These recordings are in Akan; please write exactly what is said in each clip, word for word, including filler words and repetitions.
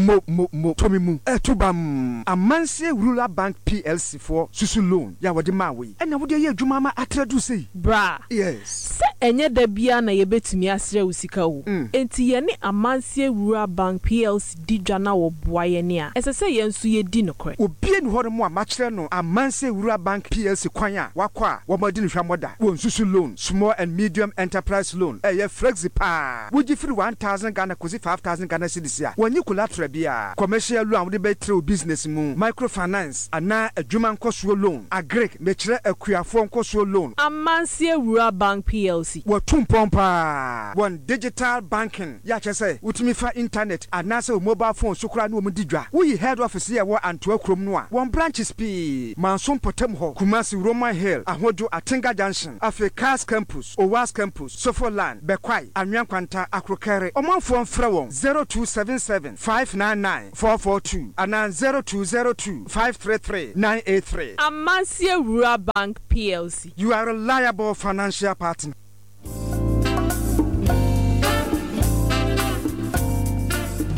Mo mo mo tɔ me mu ɛto bam. Amansie Rural Bank P L C foɔ susu loan yɛ a wɔde maa wo yi, ɛna wode ayɛ adwuma ama atra duru sei. Bra. Yes. Sɛ ɛnyɛ da biara na yɛbɛtumi asrɛ wo sika o. Mm. Enti yɛne Amansie Rural Bank P L C di dwa na wɔboa yɛn a, ɛsɛ sɛ yɛn nso yɛdi nokorɛ. Obie ni hɔ no mu a makyerɛ no Amansie Rural Bank P L C kwan a wakɔ a wɔmadi no hwammɔ da. Wɔn susu loan, small and medium enterprise loan, ɛyɛ flexi paa. Wogye firi one thousand Ghana kɔsi five thousand Ghana cedis a wɔnyi collateral biara. Commercial loan a wode bɛtrɛ wo business mu, microfinance anaa adwuma nkɔsoɔ loan, agric, mekyerɛ akuafoɔ nkɔsoɔ loan. Amansie Rural Bank P L C. Wɔtu mpɔn paa. Wɔn digital banking yɛ akyɛ sɛ wotumi fa internet anaasɛ wo mobile phone so koraa ne wɔn di dwa. Woyi head office yɛ wɔ Antoa kurom no a, wɔn branches pii Manso mpɔtam hɔ, Kumasi Roman Hill, Ahodwo Atenga Junction, afei Cars Campus, Owas Campus, Sofoland, Bɛkwae, Anwea Nkwanta, Akorokɛre. Ɔmanfoɔ mfrɛ wɔn zero two seven seven five nine nine four four two anaa zero two zero two five three three nine eight three. Amansie Rural Bank P L C. You are a reliable financial partner.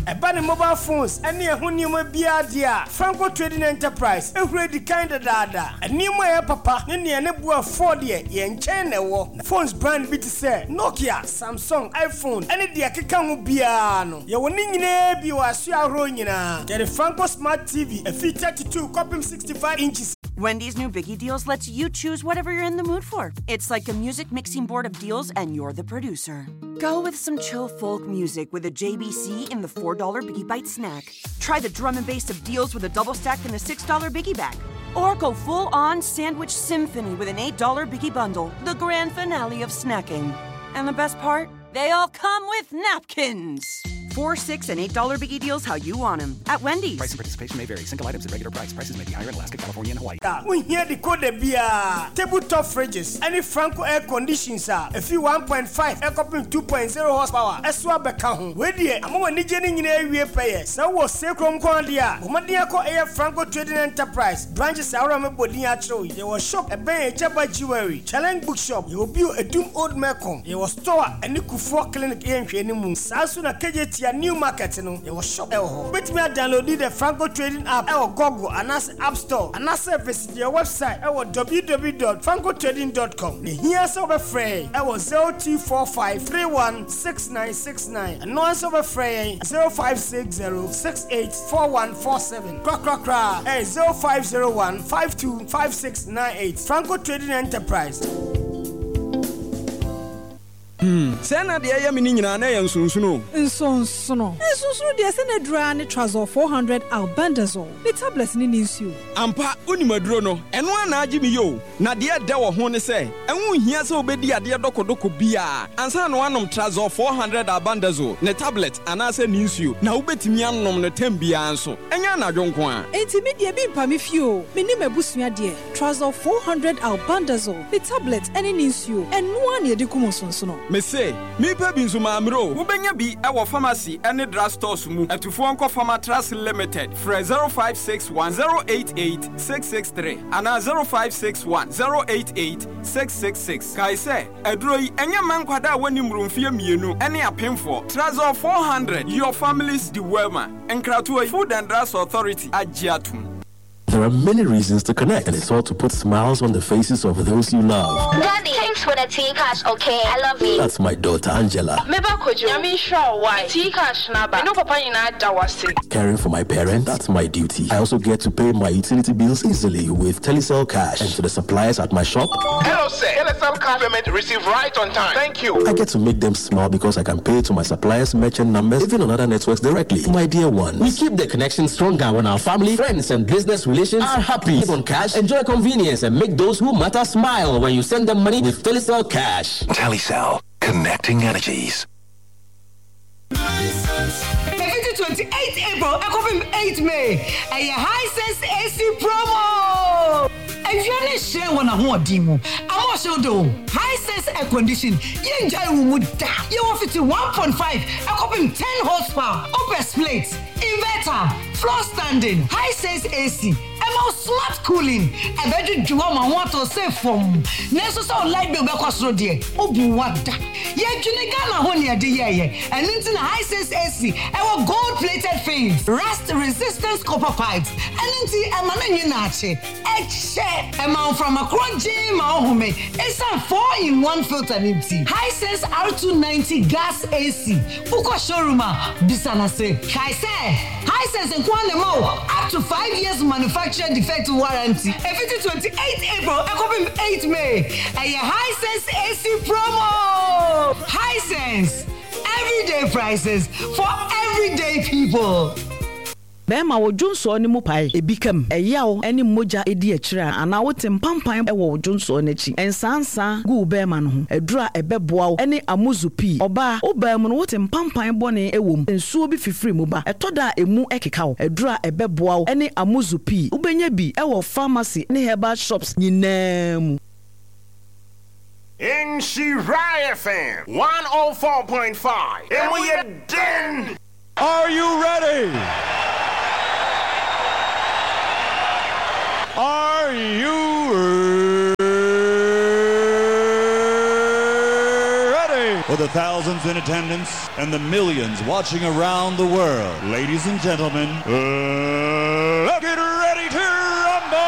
Ɛba ne mobile phones ɛne ɛho nneɛma biara deɛ a, Franco Trading Enterprise ehura di kan dadaada. Nneɛma a ɛyɛ papa ne nea ne boa fɔɔ deɛ, yɛn nkyɛn na ɛwɔ. Phones brand bi te sɛ Nokia, Samsung, iPhone ɛne deɛ ɛkeka ho biara no, yɛwɔ ne nyinaa bi wɔ asoa ahorow nyinaa. Yɛde Franco Smart T V efi thirty-two kɔpem sixty-five inches. Wendy's new Biggie Deals lets you choose whatever you're in the mood for. It's like a music mixing board of deals, and you're the producer. Go with some chill folk music with a J B C in the four dollar Biggie Bite snack. Try the drum and bass of deals with a double stack in the six dollar Biggie Bag. Or go full on sandwich symphony with an eight dollar Biggie Bundle, the grand finale of snacking. And the best part? They all come with napkins. Four, six, and eight dollar Biggie Deals, how you want them, at Wendy's. Price and participation may vary. Single items at regular price. Prices may be higher in Alaska, California, and Hawaii. A wohia decoder biara, tabletop fridges ɛne Franco air conditions a ɛfiri one point five ɛkɔpem two point zero horsepower ɛso abɛka ho. Wei deɛ ama w'anigye no nyinaa awie pɛyɛ. Sɛ wowɔ Sekurom nko adeɛ a, bɔ mmɔden akɔ ɛyɛ Franco Trading Enterprise branches ahorow a mebɔ din akyerɛw yi. Yɛwɔ shop ɛbɛn Agyaba Jewelry, Challenge Bookshop. Yɛwɔ bio Edum Old Melcom. Yɛwɔ store a ɛne Kufuor Clinic yɛ nhwɛni mu. Saa nso na K J T New Market no, yɛwɔ shop ɛwɔ hɔ. Wobɛtumi adownload the Franco Trading app ɛwɔ Google anaasɛ App Store, anaasɛ visit yɛ website ɛwɔ w w w dot francotrading dot com. Na hia sɛ wobɛfrɛ yɛn ɛwɔ zero two four five three one six nine six nine. Ɛno ara nso wobɛfrɛ yɛn zero five six zero six eight four one four seven. Korakorakora ɛyɛ zero five zero one five two five six nine eight. Franco Trading Enterprise. Sɛ na deɛ ɛyɛ me no nyinaa na ɛyɛ nsonsono o. Nsonsono nsonsono deɛ, sɛ na adura ne Trazol four hundred albendazole ne tablet ne ne nsuo. Ampa, wonim aduro no, ɛno a na agye me yi o. Na deɛ ɛdɛ wɔ ho ne sɛ ɛho nhia sɛ wobɛdi adeɛ dɔkɔdɔkɔ biaa ansa na woanom Trazol four hundred albendazole ne tablet anaasɛ ne nsuo, na wobɛtumi anom no tam biara nso, ɛnyɛ anadwo nko a. Enti me deɛ, bi mpa me fie o. Me ne m'abusua deɛ, Trazol four hundred albendazole ne tablet ne ne nsuo, ɛno a na yɛde kum nsonsono. Mese mepɛ bi nso maammerɛ o. Wobɛnya bi ɛwɔ pharmacy ne drug stores mu. Atufoɔ nkɔ Pharmatras Limited, frɛ zero five six one zero eight eight six six three anaa zero five six one zero eight eight six six six. Kae sɛ aduro yi ɛnyɛ mma nkwadaa a wɔni mmoro mfeɛ mmienu ne apemfoɔ. Trazol four hundred, your family's dewormer. Nkratoɔ yi, Food and Drugs Authority agye atom. There are many reasons to connect, and it's all to put smiles on the faces of those you love. Daddy, thanks for the T-Cash, okay? I love you. That's my daughter Angela. Meba Kojo, Nyame nhyira wo wae. T-Cash naba. Me no papa nyinaa da wase. Caring for my parents, that's my duty. I also get to pay my utility bills easily with Telecel Cash. And to the suppliers at my shop, Hello, sir. Telecel Cash payment received right on time. Thank you. I get to make them smile because I can pay to my suppliers' merchant numbers, even on other networks directly. My dear ones. We keep the connection stronger when our family, friends, and business relations are happy. Save on cash, enjoy convenience, and make those who matter smile when you send them money with Telecel Cash. Telecel, connecting energies. Ɛfiti twenty-eight April ɛkɔpem eight May, ɛyɛ Hisense A C promo. Awia ne hyerɛn wɔ n'ahoɔden mu ama ɔhyew de o. Hisense air condition yɛngyae wo mu da. Yɛwɔ fiti one point five ɛkɔpem ten horsepower, wopɛ split, inverter. Floor standing, Hisense A C ɛma wo smart cooling, ɛbɛdwedwe wo ama ho atɔ sɛ fam. Nanso sɛ wo light bill bɛkɔ soro deɛ, wobu wada. Yɛdwene Ghana ho ne ɛde yɛɛyɛ. Ɛno nti na Hisense A C ɛwɔ gold plated fins, rust resistance copper pipes. Ɛno nti ɛma no nwe naakye. Ɛkyɛ ɛma mframa korɔ gyee ma wo home ɛsiane four in one filter ne nti. Hisense R two ninety gas A C, wokɔ showroom a, bisa na se. Kae sɛ Hisense nko ara na ɛma wo up to five years manufacturer defect warranty. Ɛfiti twenty-eight April ɛkɔpem eight May, ɛyɛ Hisense A C promo. Hisense, everyday prices for everyday people. Bɛrima, wo dwonsoɔ no mu pae, ebi kam, ɛyaw ne mogya edi akyire a, anaa wote mpampan wɔ wo dwonsoɔ no akyi, nsansa gu wo bɛrima no ho, aduru a ɛbɛboa wo ne Amuzu Pii. Ɔbaa, wo baa mu no, wote mpampan bɔne wɔ mu, nsuo bi fifiri mu ba, ɛtɔ da a emu keka wo, aduru a ɛbɛboa wo ne Amuzu Pii. Wobɛnya bi wɔ pharmacy ne herbal shops nyinaa mu. Nhyira F M one oh four point five. Emu yɛ den. Are you ready? Are you ready? For the thousands in attendance and the millions watching around the world, ladies and gentlemen, uh, let's get ready to rumble!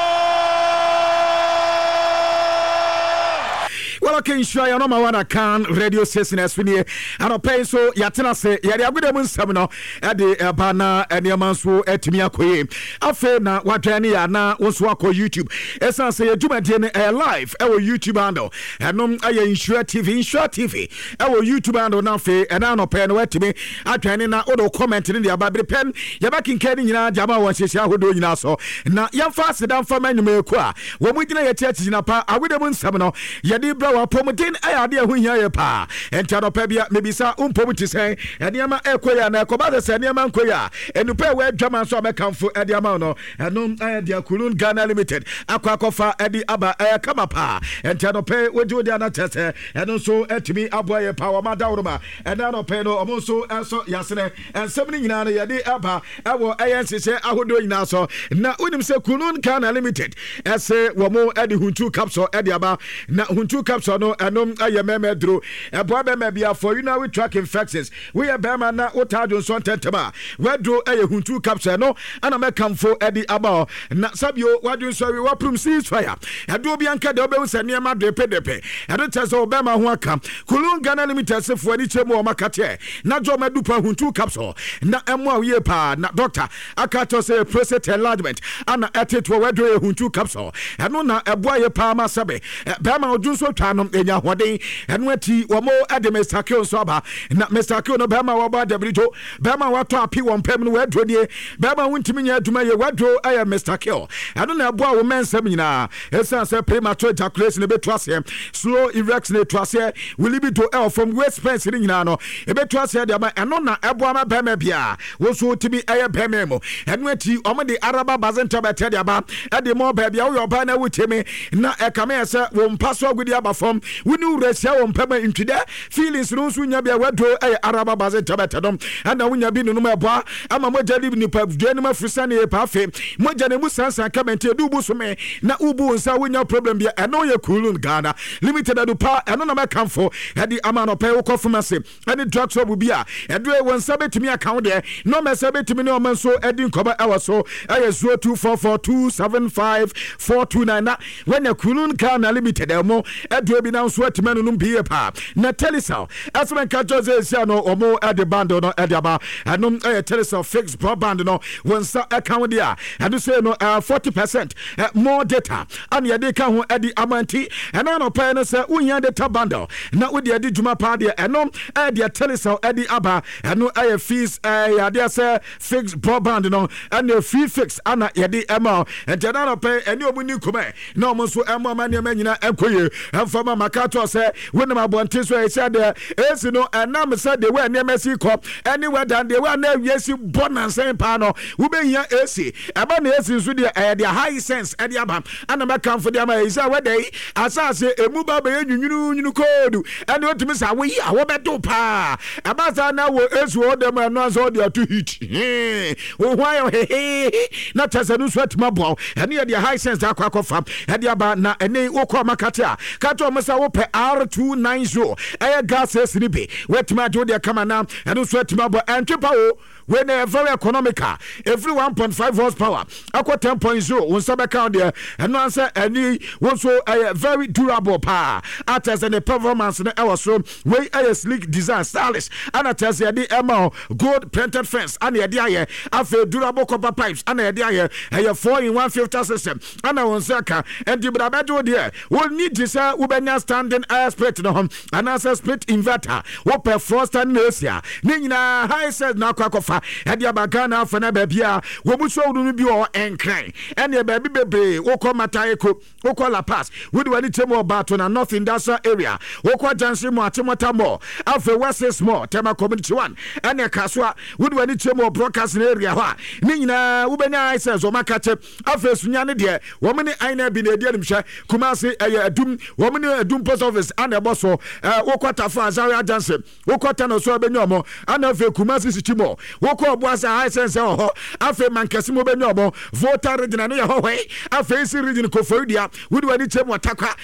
Well, okay, nhyira yɛ nɔma wana kan radio station ɛso nie. Anɔpɛ yi nso yɛatena ase, yɛde agoda mu nsɛm no ɛde ɛba na nneɛma nso atumi akɔ yie. Afei na wadwɛn ne yɛ ana wo nso akɔ YouTube, ɛsiane sɛ yɛ dwumadie no ɛyɛ live ɛwɔ YouTube handle. Ɛnom ɛyɛ Nhyira T V, Nhyira T V ɛwɔ YouTube handle. Na afei ɛna anɔpɛ no watumi adwɛn ne na wode comment ne de aba bere pɛm, yɛbɛkenkan ne nyinaa de ama wɔ nhyehyɛ ahodoɔ nyinaa so. Na yɛmfa aseda mfa ma nnwumayɛkuo a wɔn mu gyina yɛkyi akyigyina pa agoda mu nsɛm no yɛde brɛ wɔ. Apɔmuden ɛyɛ adeɛ ɛho hia yɛ paa. Ɛnti anɔpɛ bia mebisa wo, mpom te sɛn? Nneɛma ɛkɔ yi a na ɛkɔba sɛ sɛ nneɛma nkɔ yi a, nnupa ɛwɔ adwama nso a mɛkamfo ɛde ama wo no, ɛno ɛyɛ deɛ Kulun Ghana Limited akɔ akɔfa ɛde aba. Ɛyɛ kama paa. Ɛnti anɔpɛ wogye wode ana kyɛ sɛ ɛno nso atumi aboa yɛ paa. Wɔma daworo ɛna anɔpɛ no ɔmo nso ɛsɔ yasene nsɛm no nyinaa no yɛde ɛba ɛwɔ ɛyɛ nhyehyɛ ahodoɔ nyinaa so. Na wonim sɛ Kulun Ghana Limited ɛsɛ wɔn ɛde Huntu capsule ɛde aba. Na Huntu capsule no, ɛno ɛyɛ mɛmɛ duro, ɛboa bɛrima bi for urinary tract infections. Woyɛ bɛrima na wotaa dwo nsɔ ntɛntɛm a, waduro ɛyɛ Huntu capsule no ɛna mɛkamfo ɛde aba hɔ. Na sabio wadwo nsɔ awie, waprum cease fire, ɛdoɔ bi anka deɛ wobɛhu sɛ nneɛma depedepe, ɛno kyerɛ sɛ wo bɛrima ho aka. Kulun Ghana Limited sefoɔ ani kyerɛ mu wɔ makateɛ na gye ɔma dupa Huntu capsule na ɛmmoa wo yie paa. Na doctor aka kyerɛ sɛ prostate enlargement ana ɛtetoɔ, waduro yɛ Huntu capsule. Ɛno na ɛboa yɛ paa ma sɛbe bɛrima odwo nso twa no ɛnya ahoɔden. Ɛno akyi wɔn ɛde Mister Kill nso aba. Na Mister Kill no, bɛrima wɔbɔ adabirito, bɛrima watɔ api wɔn pɛm no, wɔaduro nie. Bɛrima wontumi nyɛ adwuma yie, wɔaduro ɛyɛ Mister Kill. Ɛno na ɛboa wo mɛnsɛm nyinaa, ɛsiane sɛ premature ejaculation ɛbɛtu aseɛ, slow erection ɛtu aseɛ, wo libido ɛwɔ fam, waist pains ne nyinaa no ɛbɛtu aseɛ de ama. Ɛno na ɛboa ma bɛrima biara wo nso wotumi ɛyɛ bɛrima mu. Ɛno akyi ɔmo de Araba Bazen tablet de aba ɛde mɔ baabi a woyɛ ɔbaa na wotie me na ɛkame yɛ sɛ wo mpa so agudi aba fam, wo ne wura hyia wɔ mpa ma ntwidɛ feelings no nso nya bia, waduro ɛyɛ Araba Bazen tablet no. Ɛna wonya bi nonom, ɛboa ama mogya de nipa dua no mu afiri sane yɛ paa. Afei mogya no mu sansan kama, nti ɛdu bu so me na wobu wo nsa, wonya problem bia. Ɛno yɛ Kulun Ghana Limited adupa. Ɛno na mɛkamfo ɛde ama anɔpɛ. Wokɔ pharmacy ɛne drug shop bi a, ɛduro wɔn nsa bɛtumi aka wo deɛ na ɔmɛ sɛ bɛtumi ne ɔmɛ nso ɛdi nkɔmɔ ɛwɔ so, ɛyɛ zero two four four two seven five four two nine. Na wɔnya Kulun Ghana Limited ɛmo ɛduro bi na nso atumi anonom bi yie paa. Na Telecel ɛsɛ nka kyerɛ sɛ ɛsia no ɔmo ɛde bundle no ɛde aba. Ɛnom ɛyɛ Telecel fixed broadband no, wɔn nsa ɛka wo deɛ a, ɛno sɛ no ɛɛ forty percent more data ana yɛde ka ho ɛde ama. Nti ɛna anɔpɛ no sɛ wohia data bundle na wode adi dwuma paa deɛ, ɛno ɛyɛ deɛ Telecel ɛde aba. Ɛno ɛyɛ fees, ɛyɛ adeɛ sɛ fixed broadband no ɛna free fix ana yɛde ɛma. Nti ɛna anɔpɛ ɛne ɔmo ni nkɔmɛ na ɔmo nso ɛmo ama nneɛma nyinaa ɛnkɔ yie. Ɛmfa ma maka to sɛ wonam abɔnten so ɛhyɛ deɛ A C no, ɛnam sɛ deɛ wɔ nneɛma si kɔ ɛne wɛda deɛ wɔ na awie si bɔ nansɛn paa no, wobɛhia A C. Ɛba na A C nso deɛ, ɛyɛ deɛ Hisense ɛde aba ana mɛkamfo deɛ ama ɛyi sɛ wɛda yi asase emu ba bɛyɛ nwunwununwunu koodu ɛne otumi sɛ awoyi a wɔbɛdo paa. Ɛba saa na wɔ A C wɔ dɛm, ɛno ansa ɔde ato heat wo ho ayɛ hehehe na kyɛ sɛ no nso atumi aboa wo. Ɛne yɛ deɛ Hisense akɔ akɔfa ɛde aba. Na ɛne wokɔ makate a, ka kyerɛ ɔmo sɛ wopɛ R two ninety, ɛyɛ gas A C no bi, woatumi agye wo deɛ kama na ɛno nso atumi abɔ. Ɛntwe pa o, wei na yɛ very economical. Ɛfiri one point five horsepower akɔ ten point zero, wo nsa bɛka wo deɛ. Ɛno ansɛ ɛne wo nso ɛyɛ very durable paa, akyɛ sɛ ne performance no ɛwɔ soro. Wei ɛyɛ sleek design, stylish, ana kyerɛ sɛ yɛde ɛma wo gold printed fence ana yɛde ayɛ. Afei durable copper pipes ana yɛde ayɛ. Ɛyɛ four in one filter system ana wɔn nsa ka. Ɛnti bra bɛgye wo deɛ. Wɔnni te sɛ wobɛnya standing air split no ho anaasɛ split inverter, wopɛ floor standing A C a, ne nyinaa Hisense na akɔ akɔfa ɛde aba Ghana afa no. Baabi a wɔn mu showroom no bi wɔ Nkran, ɛne baabi bebree. Wokɔ Mataheko, wokɔ Lapaz, wode w'ani kyerɛ mu wɔ Baato na North Industrial Area, wokɔ Junction mu, Achimota Mall, afei West Mall, Tema Community one, ɛne Kasoa, wode w'ani kyerɛ mu wɔ Broadcasting Area hɔ a, ne nyinaa wobɛnya Hisense wɔn aka kyɛ. Afei Sunya ne deɛ, wɔn ne aina bi na ɛdi animhwɛ. Kumase ɛyɛ Adum, wɔn ne Adum Post Office ana ɛbɔ so. ɛɛ wokɔ Tafa, Azaria Junction, wokɔ Tano so ɛbɛnya ɔmo. Ana afei Kumasi City Mall, wokɔ Ɔboase, Hisense wɔ hɔ. Afei Mankɛse mu wobɛnya ɔmo. Volta Region no yɛ hɔ hɔ. Afei si Region, Koforidua, wode w'ani kyerɛ mu wɔ Takwa.